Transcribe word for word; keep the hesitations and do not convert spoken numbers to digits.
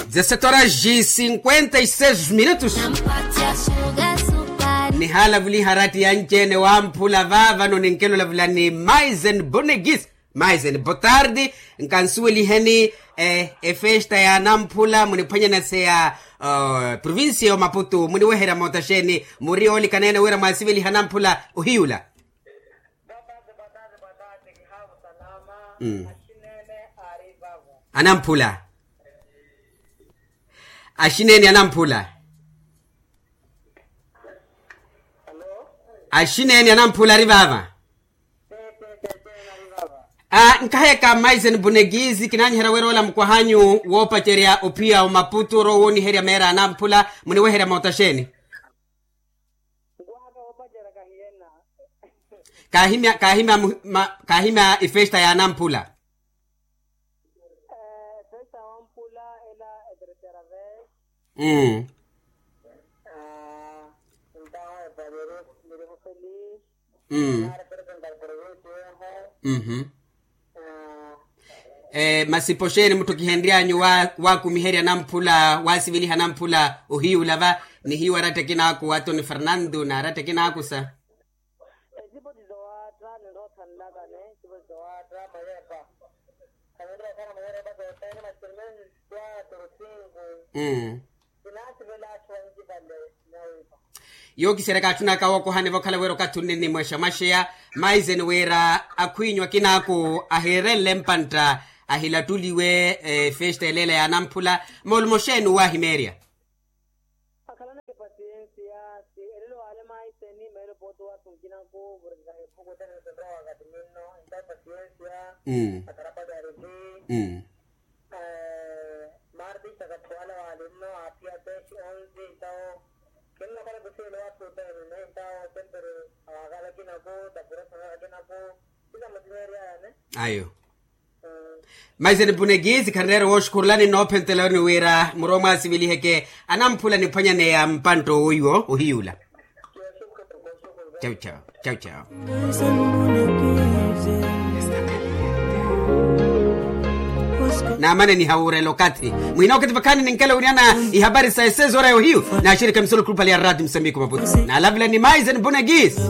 Dezessete horas e cinquenta e seis minutos. Nihaalavuliha aratti yanci-ene wamphula vaavano ninkelo lavula ni maisen bonegis. Maisen botardi. Nkansuweliheni efesta ya namphula muniphwanyanase ya provincia ya omaputu muniweherya moota xeeni? Muri oolikaneene wira mwasiveliha namphula ohiyula. Anamphula. Axineeni anamphula. Axineeni anamphula ari vaava. Nkaheka maisen bonegizi kinaanyiherya wira ola mukwahanyu woopacerya ophiya omaputu orowa wooniherya meera anamphula muniweherya moota xeeni? Kaahimya kaahimya kaahimya efesta ya anamphula. Masi poxeeni mutthu kihenry'anyu waakumiherya namphula waasiveliha namphula ohiyula va? Nihiyu aratta ekinaaku wa toni fernando n'aratta ekinaaku sa. Ecipo ti zowaatta ninroothanlakane ecipo ti zowaatta mawepa. Khavirira okhala mawepa epaka otaini matirmeni. Quatro cinco. Kinaasivela atthu ancipale. Nyawimpa. Yookiseryaka atthunaka wookohani vokhala wira okathi onne nimwexa mwaxeya. Maiseni wira akhwiinyu akinaaku ahiirenle mpantta ahilattuliwe efesta eleela ya anamphula. Moolumo xeeni owahimeerya? Akhalaneke pasiensia. Si elelo waale maiseni meelo pooti waathu nkinaku vurikikaha ephuku tene sinrowa wakati ninno. Entawo pasiensia. Akharapali ariki. Maartista katthu wala waalinno aaphiya teshi onsi entawo. Kinnakhala kusiile waathu otene entawo sempre awaakala akinaku tapurosa akinaku. Sila mutimeeryayane. Ayo. Maiseni punekisi khanreera wooxukhurulani noophentelani wira murowa mwasiviliheke anamphula niphwanyaneya mpantta owoiwo ohiyula. Chau chau. Chau chau. Naamane nihawuurela okathi muhina okathi vakhaani ninkela wiriana ihapari sa esezora ya ohiyu. Naaxirika misolo grupali ya rati musambiko maputu naalavula ni maiseni punekisi.